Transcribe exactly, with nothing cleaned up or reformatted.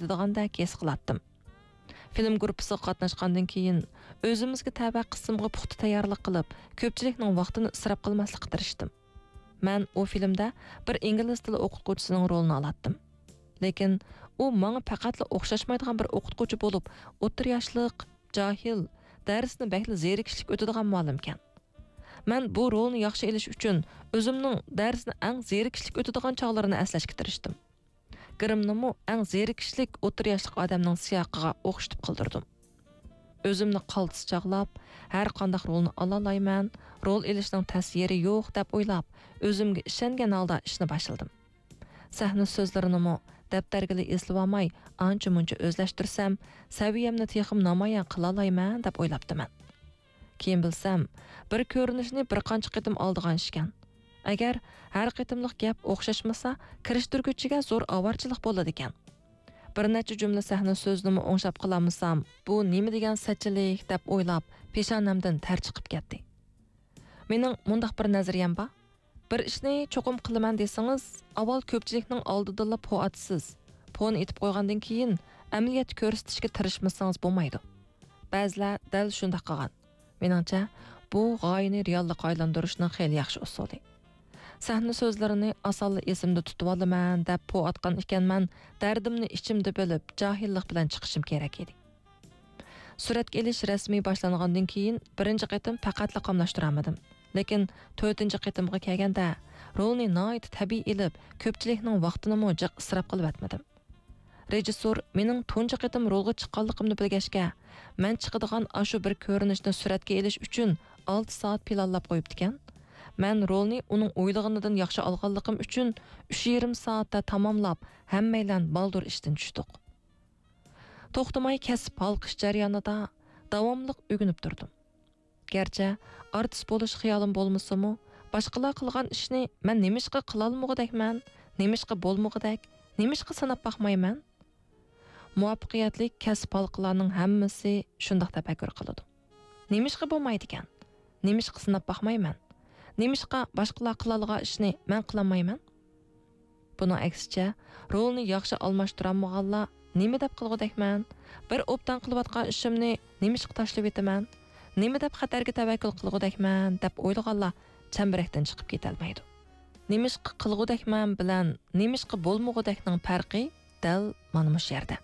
كېتىدىغاندەك ھېس قىلاتتىم. فىلىم گۇرۇپپىسىغا قاتناشقاندىن كېيىن، ئۆزىمىزگە تەۋە قىسىمغا پۇختا تەييارلىق قىلىپ، كۆپچىلىكنىڭ ۋاقتىنى ئىسراپ قىلماسلىققا تىرىشتىم. مەن ئۇ فىلىمدە بىر ئىنگلىز تىلى ئوقۇتقۇچىسىنىڭ رولىنى ئالاتتىم. لېكىن ئۇ ماڭا پەقەتلا ئوخشاشمايدىغان بىر ئوقۇتقۇچى بولۇپ، ئوتتۇرا ياشلىق، جاھىل، دەرسنى بەكلا زېرىكىشلىك ئۆتىدىغان مۇئەللىمكەن. مەن بۇ رولنى ياخشى ئېلىش ئۈچۈن ئۆزۈمنىڭ دەرسنى ئەڭ زېرىكىشلىك ئۆتىدىغان چاغلىرىنى ئەسلەشكە تىرىشتىم. گىرىمنىمۇ ئەڭ زېرىكىشلىك ئوتتۇرا ياشلىق ئادەمنىڭ سىياقىغا ئوخشىتىپ قىلدۇردۇم. ئۆزۈمنى قالتىس چاغلاپ، ھەر قانداق رولنى ئالالايمەن، رول ئېلىشنىڭ تەس يېرى يوق دەپ ئويلاپ، ئۆزۈمگە ئىشەنگەن ھالدا ئىشنى باشلىدىم. سەھنە سۆزلىرىنىمۇ دەپتەرگىلا ئېسىلىۋالماي، ئانچە-مۇنچە ئۆزلەشتۈرسەم، سەۋىيەمنى تېخىمۇ نامايان قىلالايمەن دەپ ئويلاپتىمەن. كېيىن بىلسەم، بىر كۆرۈنۈشنى بىر قانچە قېتىم ئالىدىغان ئىشكەن. ئەگەر ھەر قېتىملىق گەپ ئوخشاشمىسا، كىرىشتۈرگۈچىگە زور ئاۋارىچىلىق بولىدىكەن. بىر نەچچە جۈملە سەھنە سۆزىنىمۇ ئوڭشاپ قىلالمىسام، بۇ نېمە دېگەن سەتچىلىك دەپ ئويلاپ، پېشانەمدىن تەر چىقىپ كەتتى. مېنىڭ مۇنداق بىر نەزەرىيەم بار. بىر ئىشنى چوقۇم قىلىمەن دېسىڭىز، ئاۋۋال كۆپچىلىكنىڭ ئالدىدىلا پو ئاتىسىز. پونى ئېتىپ قويغاندىن كېيىن، ئەمەلىيەتتە كۆرسىتىشكە تىرىشمىسىڭىز بولمايدۇ. بەزىلەر دەل شۇنداق قىلغان. مېنىڭچە، بۇ غايىنى رېئاللىققا ئايلاندۇرۇشنىڭ خېلى ياخشى ئۇسۇلى. سەھنە سۆزلىرىنى ئاسانلا ئېسىمدە تۇتۇۋالىمەن دەپ پو ئاتقان ئىكەنمەن، دەردىمنى ئىچىمدە بىلىپ، جاھىللىق بىلەن چىقىشىم كېرەك ئىدى. سۈرەتكە ئېلىش رەسمىي باشلانغاندىن كېيىن، بىرىنچى قېتىم پەقەتلا قاملاشتۇرالمىدىم. لېكىن تۆتىنچى قېتىمغا كەلگەندە، رولنى ناھايىتى تەبىئىي ئېلىپ، كۆپچىلىكنىڭ ۋاقتىنىمۇ جىق ئىسراپ قىلىۋەتمىدىم. رېژىسسور مېنىڭ تۇنجى قېتىم رولغا چىققانلىقىمنى بىلگەچكە، مەن چىقىدىغان ئاشۇ بىر كۆرۈنۈشنى سۈرەتكە ئېلىش ئۈچۈن ئالتە سائەت پىلانلاپ قويۇپتىكەن. مەن رولنى ئۇنىڭ ئويلىغىنىدىن ياخشى ئالغانلىقىم ئۈچۈن، ئۈچ يېرىم سائەتتە تاماملاپ، ھەممەيلەن بالدۇر ئىشتىن چۈشتۇق. توختىماي كەسىپ ھالقىش جەريانىدا داۋاملىق ئۆگىنىپ تۇردۇم. گەرچە ئارتىس بولۇش خىيالىم بولمىسىمۇ، باشقىلار قىلغان ئىشنى مەن نېمىشقا قىلالمىغۇدەكمەن، نېمىشقا بولمىغۇدەك، نېمىشقا سىناپ باقمايمەن؟ مۇۋەپپەقىيەتلىك كەسىپ ھالقىلارنىڭ ھەممىسى شۇنداق تەپەككۇر قىلىدۇ. نېمىشقا بولمايدىكەن؟ نېمىشقا سىناپ باقمايمەن؟ نېمىشقا باشقىلار قىلالىغان ئىشنى مەن قىلالمايمەن؟ بۇنىڭ ئەكسىچە، رولنى ياخشى ئالماشتۇرالمىغانلار نېمە دەپ قىلغۇدەكمەن؟ بىر ئوبدان قىلىۋاتقان ئىشىمنى نېمىشقا تاشلىۋېتىمەن؟ نېمە دەپ خەتەرگە تەۋەككۈل قىلغۇدەكمەن؟ دەپ ئويلىغانلار چەمبىرەكتىن چىقىپ كېتەلمەيدۇ. نېمىشقا قىلغۇدەكمەن بىلەن نېمىشقا بولمىغۇدەكنىڭ پەرقى دەل مانا مۇشۇ يەردە.